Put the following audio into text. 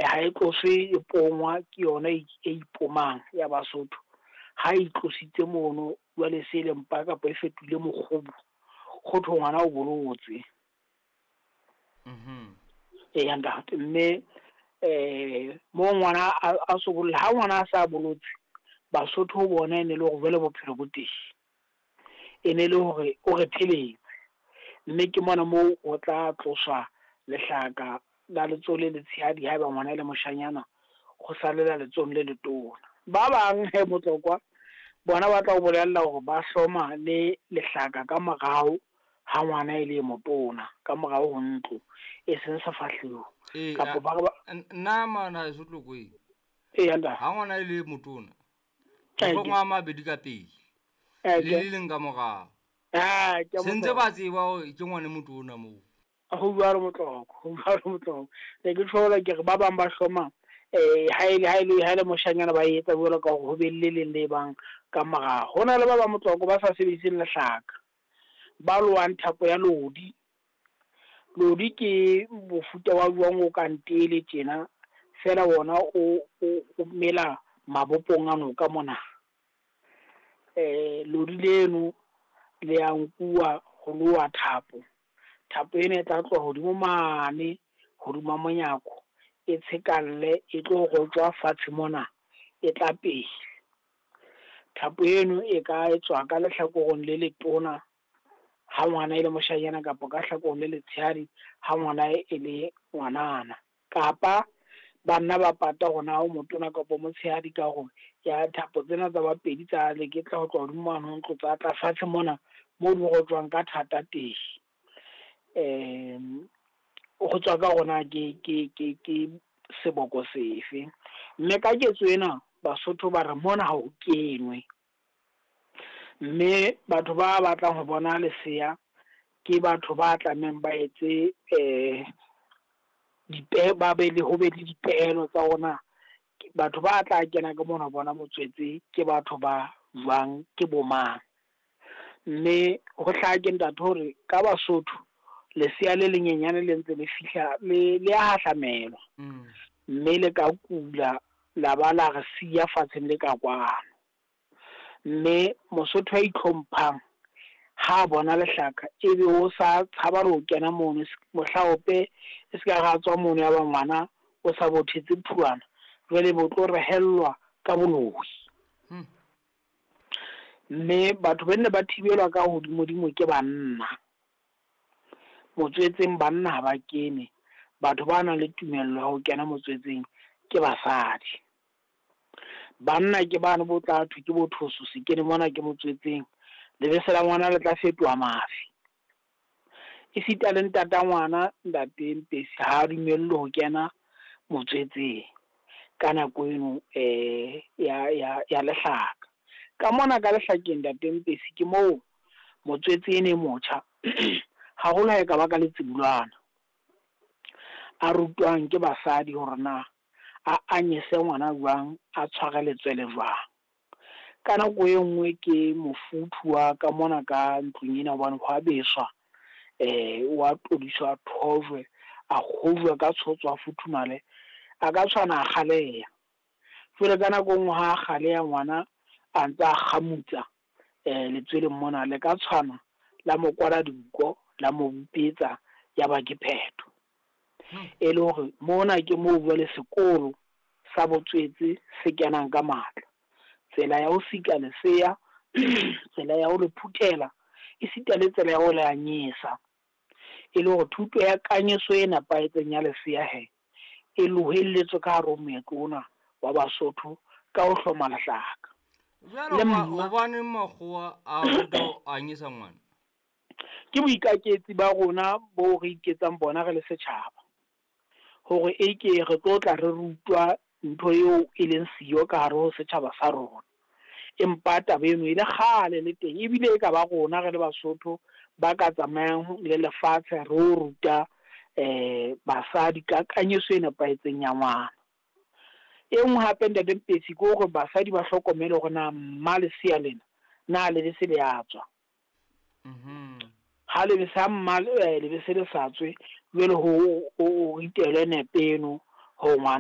Ha e tloswe e pongwa ke yona e ipomang ya Basotho. Ha e tlositse mono jwale se le mpa kapa e fetohile mokgobu, ho thwe ngwana o bolotse. Eya ntate, mme mo ngwana a so bolla, ha ngwana a sa bolotse, Basotho ho bona e ne le hore jwale bophelo bo teng. E ne le hore o re pheletse. Mme ke mona moo o tla tloswa lehlaka la letsoho le letshehadi haeba ngwana e le moshanyana, ho salela letsohong le letona. Ba bang he Motlokwa, bona ba tla o bolella hore ba hloma le lehlaka ka morao ha ngwana e le motona, ka morao ho ntlo, e seng sefahleho. Kapa ba re Nna mana heso Tlokweng. Eya ntate. Ha ngwana e le motona, ho a mabedi ka pele, le le leng ka morao. Se ntse ba tseba hore ke ngwana motona moo. Ho jwalo Motlokwa, ho jwalo Motlokwa. Ne ke tjho ke re ba bang ba hloma ha ele moshanyana ba etsa jwalo ka hore ho be le leng le bang ka morao. Ho na le ba bang Motlokwa ba sa sebediseng lehlaka, ba lohang thapo ya lodi. Lodi ke mofuta wa jwang o kang tele tjena, fela wona o mela mabopong a noka mona. Lodi leno le a nkuwa ho loha thapo. Thapo ena e tla tloha hodimo mane hodima monyako, e tshekalle e tlo rojwa fatshe mona, e tla pele. Thapo eno e ka etswa ka lehlakoreng le letona ha ngwana e le moshanyana, kapa ka hlakoreng le letshehadi ha ngwana e le ngwanana. Kapa banna ba pata hore na o motona kapa motshehadi ka hore ya thapo tsena tsa bapedi tsa leketla ho tloha hodimo mane ho ntlo tsa tla fatshe mona moo di rojwang ka thata teng. Ho tswa ka hore na ke seboko sefe. Mme ka ketso ena Basotho ba re mona ha ho kenwe. Mme batho ba batlang ho bona lesea ke batho ba tlamehang ba etse ba be le ho be le dipehelo tsa hore batho ba tla kena ka mona ho bona motswetse ke batho ba jwang, ke bo mang. Mme ho hlake ntate hore ka Basotho lesea le lenyenyane le ntse le fihla le a hahlamelwa. Mme le ka kula la ba la re siya fatsheng le ka kwano. Mme Mosotho a itlhomphang ha bona lehlaka ebe o sa tshaba le ho kena mono, mohlaope e se ka ra tswa mono ya ba ngwana o sa bothetse phuana, jwale bo tlo rehellwa ka boloi. Mme batho ba nne ba thibelwa ka hodimodimo ke banna. Motswetseng banna ha ba kene, batho ba nang le tumello ya ho kena motswetseng ke basadi. Banna ke bano bo tla thwe ke bo thoso, se kene mona ke motswetseng, lebese la ngwana le tla fetoha mafi. Esita le ntata ngwana, ntate Mpesi, ha a dumellwe ho kena motswetseng ka nako eno ya lehlaka. Ka mona ka lehlakeng ntate Mpesi ke moo motswetse ene e motjha haholo ha e ka ba ka letsibulwana, a rutwang ke basadi hore na a anyese ngwana jwang, a tshware letswele jwang. Ka nako e nngwe ke mofuthu wa ka mona ka ntlong ena, hobane ho a beswa, wa todiswa, thojwe, a kgojwe ka tshotso, a futhumale, a ka tshwana a kgaleha. Jwale ka nako e nngwe ha a kgaleha ngwana a ntsa a kgamutsa letsweleng mona, le ka tshwana la mo kwala dinko, la mo bipetsa, ya ba ke phetho. E le hore mona ke moo jwale sekolo sa botswetse se kenang ka matla. Tsela ya ho sika lesea, tsela ya ho le phuthela, esita le tsela ya ho le anyesa. E le hore thuto ya kanyeso e nepahetseng ya lesea he, e lohelletswe ka hare ho moetlo ona wa Basotho ka ho hloma lehlaka. Jwale hobaneng makgowa a ruta ho anyesa ngwana? Ke boikaketsi ba rona bo re iketsang bona re le setjhaba. Hore e ke re tlo tla re rutwa ntho eo e leng siyo ka hare ho setjhaba sa rona. Empa taba eno e le kgale le teng, ebile e ka ba rona re le Basotho ba ka tsamayang le lefatshe re o ruta basadi ka kanyeso e nepahetseng ya ngwana. E nngwe hape ntate Mpesi ke hore basadi ba hlokomele hore na mma lesea lena na lebese le a tswa. Ha lebese ha mma lebese le sa tswe, jwale ho ritelwe nepe eno hore ngwana